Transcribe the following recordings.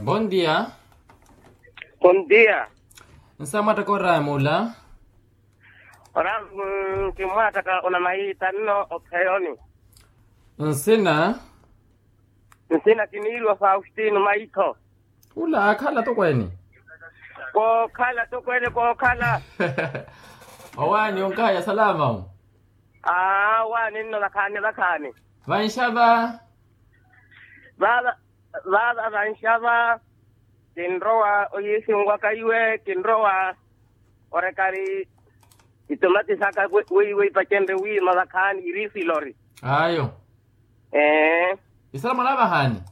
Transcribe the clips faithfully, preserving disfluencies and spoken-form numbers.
Bondia. Bondia. Nsamwattaka oraya mula. Oraya, kimmwattaka onamayitanno opheyoni. Nsina. Nsina kiniiriwa faustino maitho. Ula akhala tokweene. Kookhala tokweene kookhala. Owaani onkaya salama. Aa owaani nno vakhaani vakhaani. Vanxava. Vaava vanxava. Kinrowa oyiisinwaka iwe kinrowa orekari. Itomati saka weiwe ipacenrye wiima vakhaani iriisilori. Ayo. Ee. Isalamu anavahaani.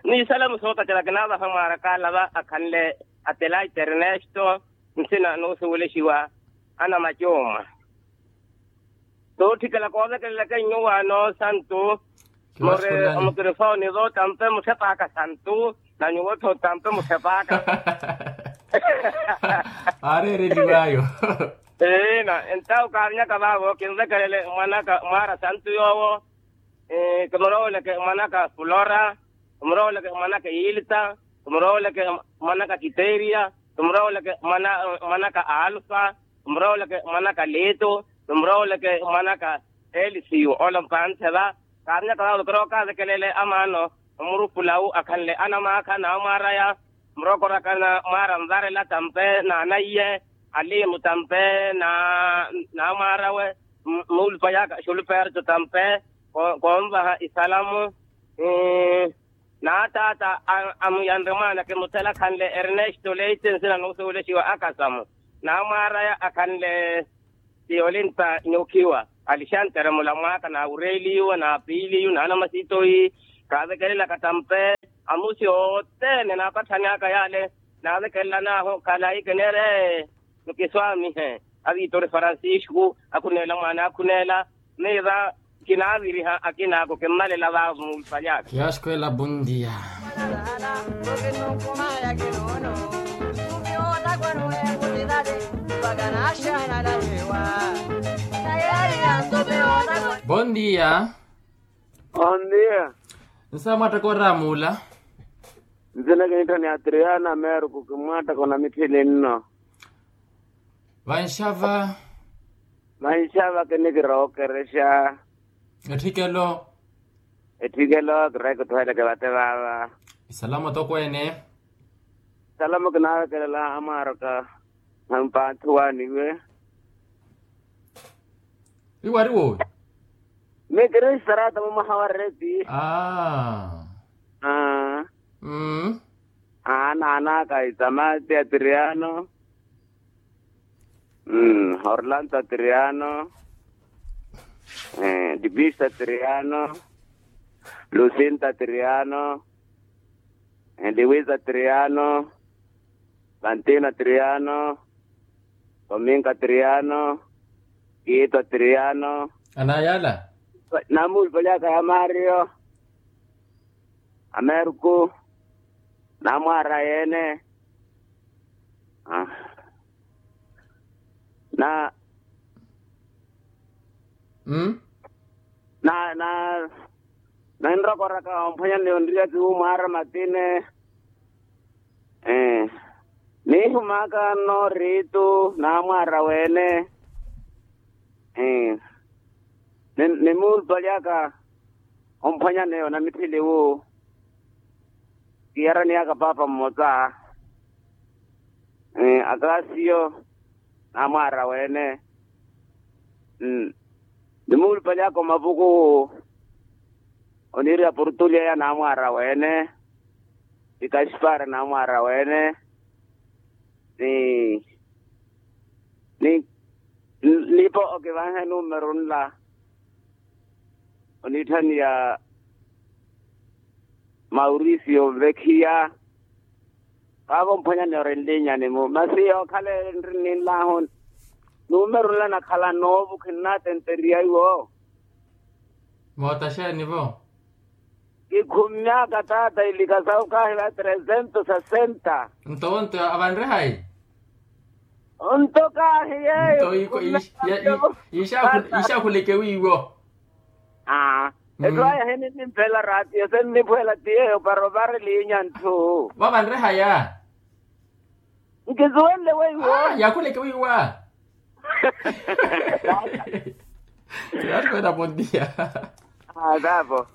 Ni isalamu sootacela kinavaha mwaaraka alava akhanle. Atelaita ernesto. Nsina nuusuwelexiwa anamacooma. Tootthikela koovekelelaka nyuwaano santu. Mori omutirifoni vootampe mutthepaka santu. Na nyuwo tthootampe mutthepaka. Aareereliwaayo. Eena entawo kaarnyaka vaavo kinvekelele mwanaka mwaara santu yoowo. Kimurooleke mwanaka fulora. Kimurooleke mwanaka ilita. Kimurooleke mwanaka kiteria. Kimurooleke mwanaka alfa. Kimurooleke mwanaka litu. Kimurooleke mwanaka elisiyu ole mpaanse va. Kaarnyaka vaavo kirookavekelele amaano omurufulawu akhanle anamaakha naamwaaraya. Murokoraka na mwaara nvarela tampe na anaiye. Alimu tampe na naamwaarawe. Muulupayaka xuluperto tampe. Koonvaha isalamu. Naataata amuyanre mwaana kimuthela khanle ernesto leite nsina nuusuwelexiwa akasamu. Naamwaaraya akhanle. Tiyolinta nyokhiwa alixantere mulamwaaka naawureeliwa naapiiliyu naanamasitoyi. Kaavekelelaka tampe amusi othene naapatthani aka yaale. Naavekelela naahu khalayi kinere. Nukiswaamihe. Avitori francisco akhuneela mwaana akhuneela. Ni va kinaaviriha akinaako kimmalela vaavo muulupalyaaka. Kiyaxkwela bondia. Bondia. Bondia. Nsa mwattaka oramuula. Nzina kinittha ni atriana meruku kimwattaka onamitthili nno. Vanxava. Vanxava kinikira okerexa. Etthikelo. Etthikelo kireekutthweleke vate vaava. Isalamo tokweene. Isalamo kinaavekelela amwaaraka. Nampanthuwaniwe. Iwari woowi. Mikiri sarata mumwaha wa reti. Aa. Aa. Mmm. Aa naanaka itamati atriano. Mmm orlando atriano. Dipista atriano. Lucinta atriano. Liwisa atriano. Vantino atriano. Tominka atriano. Kiito atriano. Anayala. Namulipalyaka ya mario. Ameruku. Namwaara yeene. Na na na. Ninrokoraka omphwanya ni onriya kiwu mwaara matine. Niihumaka nno riitu namwaara wene. Nimuulipalyaka omphwanya ni onamitthili wu. Kiyaraniyaka paapa mmosa. Akasiyo namwaara wene. Nimuulipalyaka omapuku wu. Oniiriya portulia ya namwaara wene. Ni kaspar namwaara wene. Ni ni nipo okivanhe numeru nla. Oniitthaniya mauricio nvekhiya. Vaavo mphwanyani orinlinyani-mu masi yookhala eri nrinninlahu. Numeru nla nakhala noovu khinnatenteriya iwo. Mootaxeeni-vo. Kikhummyaka taata ilika sawu kaahiva tresento sesenta. Nto wonto avanre hayi? Onto kaahiyeyo. Nto iixakhuleke wiiwo. Aa. Ethu aya hininnimphela raatiyo senniphwela ti yeeyo para ovareliinya ntthu. Vava nrehaya. Nkisuwenle weiwo. Yakhuleke weiwa. Yakhuleke weiwa. Yakhuleke weiwa.